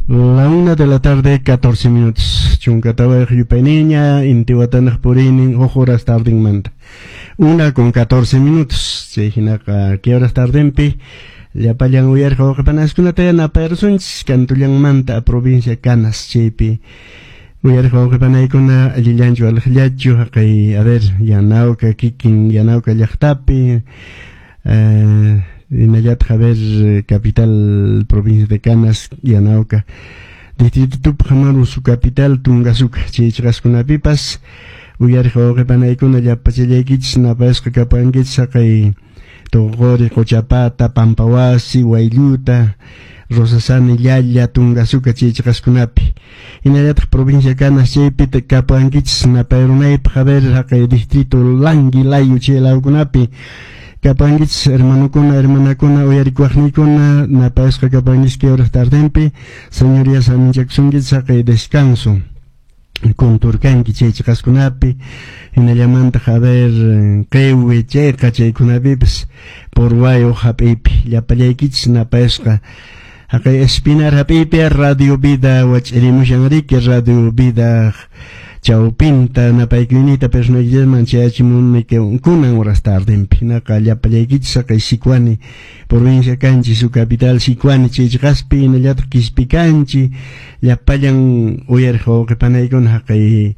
La 1 de la tarde, 14 minutos. Chunkatawayuq yupayniña, intiwatanaq puriynin, huk horas tardinmanta. 1:14. Chay hinaqa, ¿qué horas tardenpi? Llapallan uyariq wawqipanaskunata yanapayrusunchis kantullanmanta provincia Canas chaypi. Uyariq wawqipanaykuna allillanchu aliqllachu haqay, a ver, Yanauka kikin Yanauka llaqtapi, hinallataq, a ver, capital provincia de Canas, Yanauka distrito Tupac Amaru, su capital Tungasuca, chay chiqaskunapipas uyariq wawqipanaykuna llapachallaykichis napayasqa kapankichis haqay Tuquri, Quchapata, Pampawasi, Waylluta, Rosasani, Llalla, Tungasuca chay chiqaskunapi. Hinallataq provincia Canas chaypita kapankichis napayrunaypaq, a ver, haqay distrito Languilayo chay lawkunapi kapankichis hermanokuna, hermanakuna, uyarikuwaqniykuna napayasqa kapankichis que horas tardenpi. Señorías saminchakusunkichis haqay descanso kunturkanki chay chiqaskunapi, hinallamantaq, a ver, qiwi chayqa chaykunapipas Purwayo hap'iypi llapallaykichis napayasqa haqay Espinar hap'iypi Radio Vida wach'irimushan riki Radio Vida chawpinta napaykuyniyta personaykichisman chayachimuni kunan horas tardenpi. Hinaqa llapallaykichis haqay Sicuani provincia kanchi, su capital Sicuani chay chiqaspi, hinallataq Quispicanchi llapallan uyariq wawqipanaykuna haqay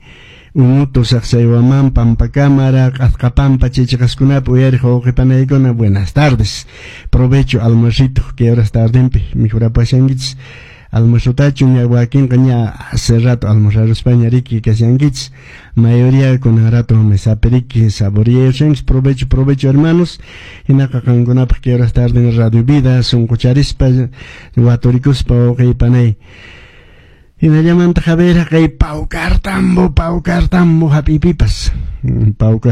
Umuto, Sacsayhuamán, Pampacámara, Q'asqapampa chay chiqaskunapi uyariq wawqipanaykuna, buenas tardes, provecho almuercito que horas tardenpi mikhurapashankichis almuerzotachu ña wakinqa ña hace rato almorzaruspaña riki kashankichis, mayoría kunan rato mesapi riki saboreashankichis. Provecho, provecho, hermanos. Hinaqa qankunapaq que horas tarden Radio Vida sunqucharispa waturikuspa wawqipanay. Hinallamantaq, a ver, haqay Paucartambo, Paucartambo hap'iypipas Paucar